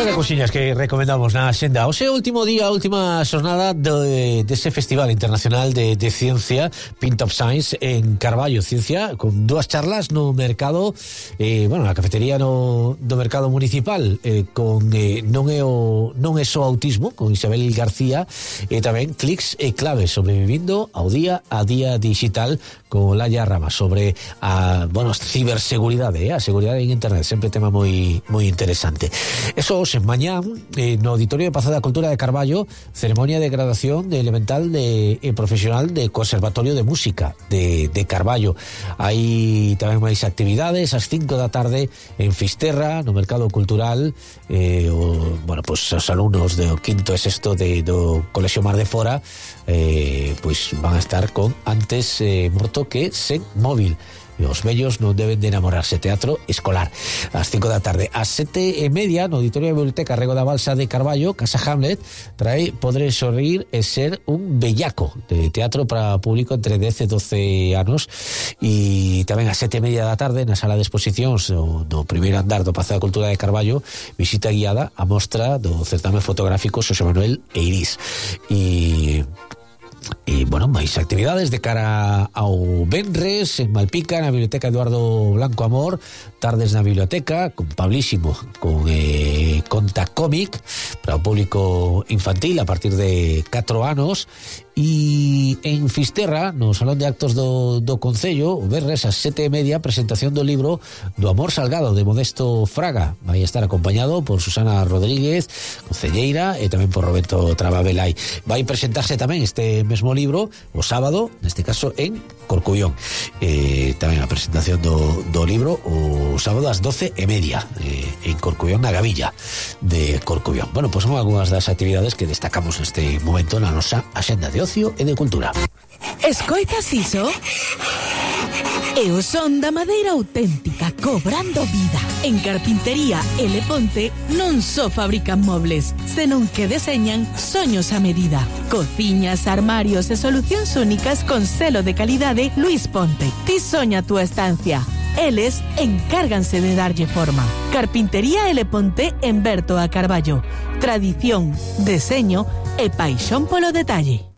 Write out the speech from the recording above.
Bueno, cousiñas que recomendamos na xenda. O seu último día, última xornada dese Festival Internacional de Ciencia, Pint of Science, en Carballo, Ciencia, con dúas charlas no mercado, na cafetería do mercado municipal, con non é só autismo, con Isabel García, e tamén clics e claves, sobrevivindo ao día a día digital, con Laia Rama, sobre a ciberseguridade, a seguridade en internet, sempre tema moi interesante. Eso en mañán, no Auditorio de Pazo da Cultura de Carballo, ceremonia de graduación de elemental e profesional de Conservatorio de Música de Carballo. Hai tamén máis actividades ás 5 da tarde en Fisterra, no Mercado Cultural. Os alumnos do quinto e sexto do Colexio Mar de Fora van a estar con antes morto que sen móvil. E os vellos non deben de enamorarse. Teatro escolar ás 5 da tarde. Ás 7:30 no Auditorio da Biblioteca Rego da Balsa de Carballo, Casa Hamlet, trae Podré sorrir e ser un bellaco, de teatro para público entre 10 e 12 anos. E tamén ás 7:30 da tarde na sala de exposicións do primeiro andar do Pazo da Cultura de Carballo, visita guiada a mostra do certame fotográfico Xosé Manuel Eirís. E máis actividades de cara ao venres en Malpica, na Biblioteca Eduardo Blanco Amor, tardes na biblioteca con Pablísimo, con conta cómic para o público infantil a partir de 4 anos. E en Fisterra, no Salón de Actos do Concello, o venres ás 7:30, presentación do libro do Amor Salgado, de Modesto Fraga. Vai estar acompañado por Susana Rodríguez, concelleira, e tamén por Roberto Trababelai. Vai presentarse tamén este mesmo libro o sábado, neste caso en Corcubión. Tamén a presentación do libro o sábado ás 12:30 en Corcubión, na Gavilla de Corcubión. Son algunhas das actividades que destacamos neste momento na nosa axenda de ocio e de cultura. Escoitas iso? É o son da madeira auténtica cobrando vida. En Carpintería L. Ponte non só fabrican mobles, senón que deseñan soños a medida. Cociñas, armarios e solucións únicas con selo de calidade Luis Ponte. Ti soña a túa estancia. Eles encárganse de darlle forma. Carpintería L. Ponte en Berto a Carballo. Tradición, deseño e paixón polo detalle.